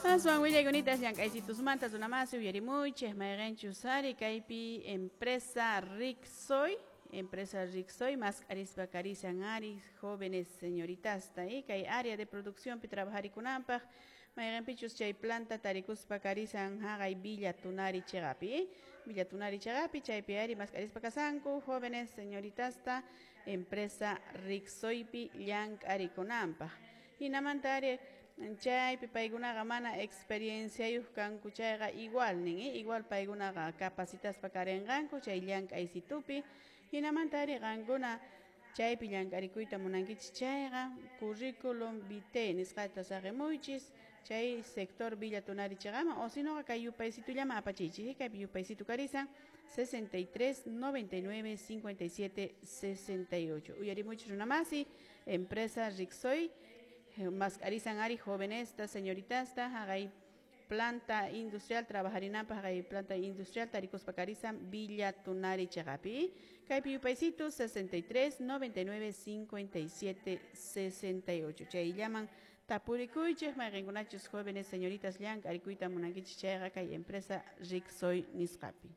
Aswan willaykunita llank'aysitusmanta runamasi uyarimuychik, mayqinchus ari kaypi empresa Rixoy, empresa Rixoy mask'arispa karisan ari jóvenes señoritasta kay área de producción pi trabajarikunanpaq, mayqinpichus chay planta tarikuspa karisan haqay Villa Tunari chiqapi, Villa Tunari chiqapi, chaypi ari mask'arispa kasanku jóvenes señoritasta empresa Rixoypi llank'arikunanpaq. Hinamanta ari chaypi paykunaqa mana experienciayuq kanku chayqa igual nin, igual paykunaqa capacitaspa karinqanku chay llank'aysitupi. Hinamanta ari qankuna chaypi llank'arikuyta munankichis chayqa currículum vitae nisqata saqimuychis chay sector Villa Tunari chiqaman, o sinoqa kay yupaysitullaman apachiychis, kaypi yupaysitu karisan 63 99 57 68. Uyarimuychis runamasi, empresa Rixoy mask'arisan ari jovenesta señoritasta haqay planta industrial trabajarinanpaq, haqay planta industrial tarikuspa karisan Villa Tunari chiqapi, kaypi yupaysitu 63 99 57 68. Chayllaman tapurikuychik mayqinkunachus jóvenes señoritas llank'arikuyta munankichis chayqa kay empresa Rixoy nisqapi.